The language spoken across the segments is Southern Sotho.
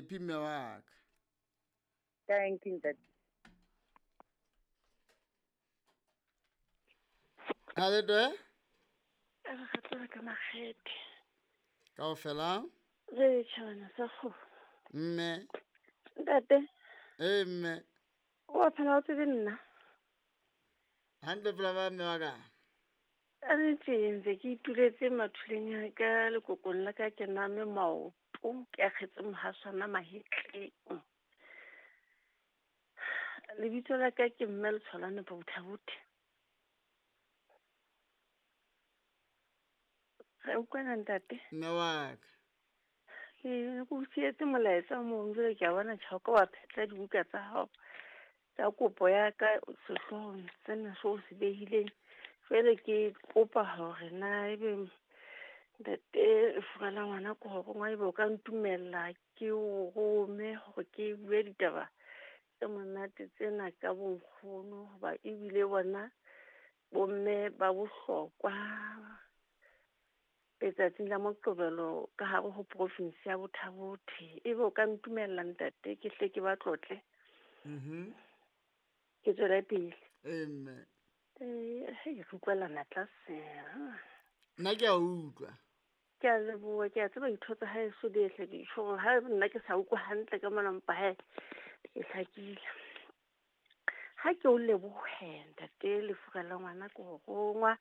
Happy mme wa ka. Thank you ntate. A le twe? Re gatsela ka makgethe. Kaofela? Re tšhabana sa kgomo. Mme. Ntate. Ee mme. O a phela o tsebe nna? Hantle fela ba mme wa ka. A re tse ntse ke ituletse mathuleng a ka lekokong la ka ke name maoto ke akgetse mohaswana mahetleng. Lebitso la ka ke mme Letshwalane Bothabothe. Re utlwana ntate? Mme wa ka. Ke o sietse molaetsa o mongwe jwale ke a bona tjha o ka wa phetla dibuka tsa hao tsa kopo ya ka sehloohong sena seo o se behileng. Jwale ke kopa hore na ebe ntate lefu la ngwana ke hore ngwa ebe o ka ntumella ke o rome hore ke bue ditaba tse monate tsena ka bonkgono hoba ebile bona bomme ba bohlokwa letsatsing la Moqebelo ka hare ho province ya Bothabothe. Ebe o ka ntumella ntate ke hle ke ba tlotle. Ke tswele pele. Ee mme. Hei, re utlwelana tlase. Nna ke a utlwa. Ke a leboha, ke a tseba ditho tsa haeso di ehle di tjho hore ha nna ke sa utlwe hantle ka mona mpa he, ke hlakile. Ha ke o lebohe ntate lefura la ngwana ke ho rongwa.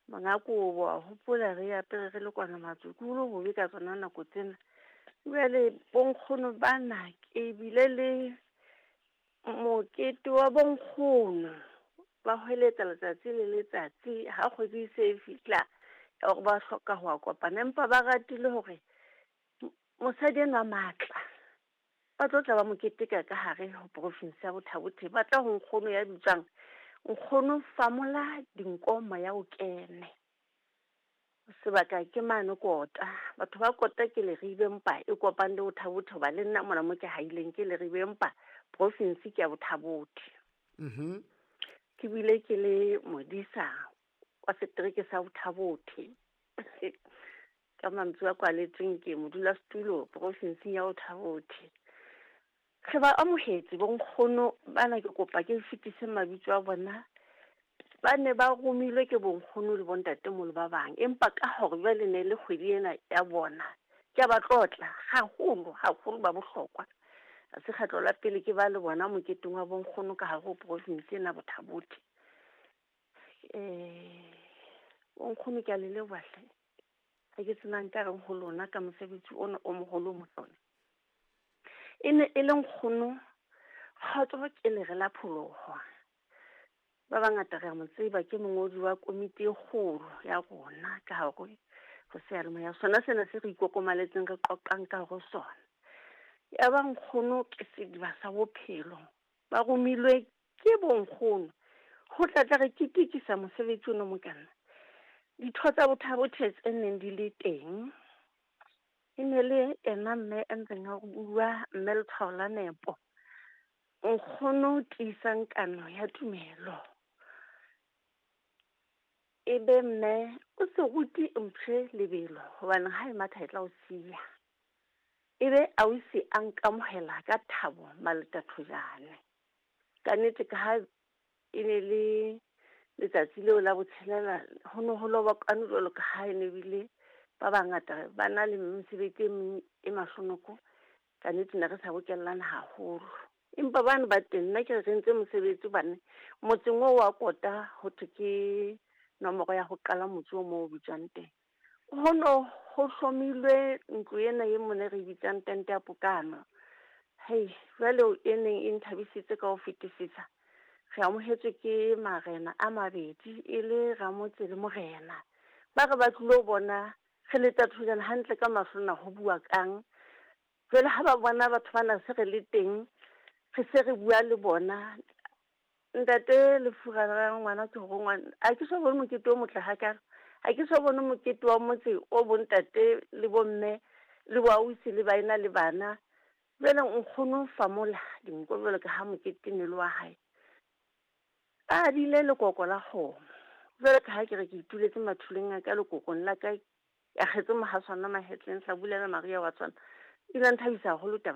Monga kobo a hopola re apere re le kwana matsukulo bobe ka tsona nako tsena. Jwale bonkgono bana ke bile le mokete wa bonkgono. Ba hweletsa letsatsi le letsatsi ha kgwedi e se e fihla ya hore ba hloka ho a kopana, empa ba ratile hore mosadi enwa matla ba tlo tla ba mo keteka ka hare ho province ya Bothabothe. Ba tla ho nkgono ya bitswang nkgono Famola Dinko Moya o kene. Sebaka ke mane Kota. Batho ba Kota ke Leribe mpa e kopang le Bothabothe hoba le nna mona mo ke haileng ke Leribe mpa province ke ya Bothabothe. Ke bile ke le modisa wa setereke sa Bothabothe. Ka mantswe a kwaletsweng ke modulasetulo provinseng ya Bothabothe. Re ba amohetse bonkgono bana, ke kopa ke fetise mabitso a bona. Ba ne ba romilwe ke bonkgono le bontatemoholo ba bang, empa ka hore jwale ne le kgwedi ena ya bona, ke a ba tlotla haholo haholo, ba bohlokwa. Ha se kgetlo la pele ke ba le bona moketeng wa bonkgono ka hare ho province ena Bothabothe. Bonkgono ke a le leboha hle. Ha ke sena nka reng ho lona ka mosebetsi ona o moholo o motlona. E ne e le nkgono Kgotso ke lere la pholoho. Ba bangata re a mo tseba, ke mongodi wa komiti e kgolo ya rona ka hare ho seyalemoya. Sona sena se re ikokomaletseng re qoqang ka hare ho sona. Ya ba nkgono ke sediba sa bophelo. Ba romilwe ke bonkgono ho tla tla re ketekisa mosebetsi ono mokana. Ditho tsa Bothabothe tse neng di le teng e ne le ena mme a ntseng a bua, mme Letshwao la Nepo. Nkgono tiisang kano ya tumelo. E be mme o se rute mpshe lebelo hobane ha e matha e tla o siya. E be ausi a nkamohela ka thabo maletathojane. Ka nnete ka ha e ne le letsatsi leo la botshelela, ho ne ho lobokane jwalo ka ha e ne bile ba bangata ba na le mesebetsi e meng e mahlonoko. Ka nnete ne re sa bokellana haholo. Empa bane ba teng, nna ke re re entse mosebetsi hobane motseng oo wa Kota ho thwe ke nomoro ya ho qala motse o moo o bitswang teng. Ho no ho hlomilwe ntlo ena e mone re bitsang tente ya pokano. Hei, jwale e neng e nthabisitse ka ho fetisisa. Re amohetswe ke marena a mabedi e le ramotse le morena. Ba re ba tlilo bona re le tathojana hantle ka mahlo na ho bua kang. Jwale ha ba bona batho bana se re le teng, re se re bua le bona. Ntate lefura la ngwana ke hore ngwana, ha ke so bone mokete o motle hakalo. Ha ke so bone mokete wa motse o bontate le bomme le boausi le baena le bana. Jwale nkgono Famola Dinko jwalo ka ha mokete ne le wa hae. A adile lekoko la kgomo. Jwale ka ha ke re ke ituletse mathuleng a ka lekokong la ka, ya kgetse mohaswana mahetleng, hlabulela Maria wa tswana. E ile ya nthabisa haholo taba.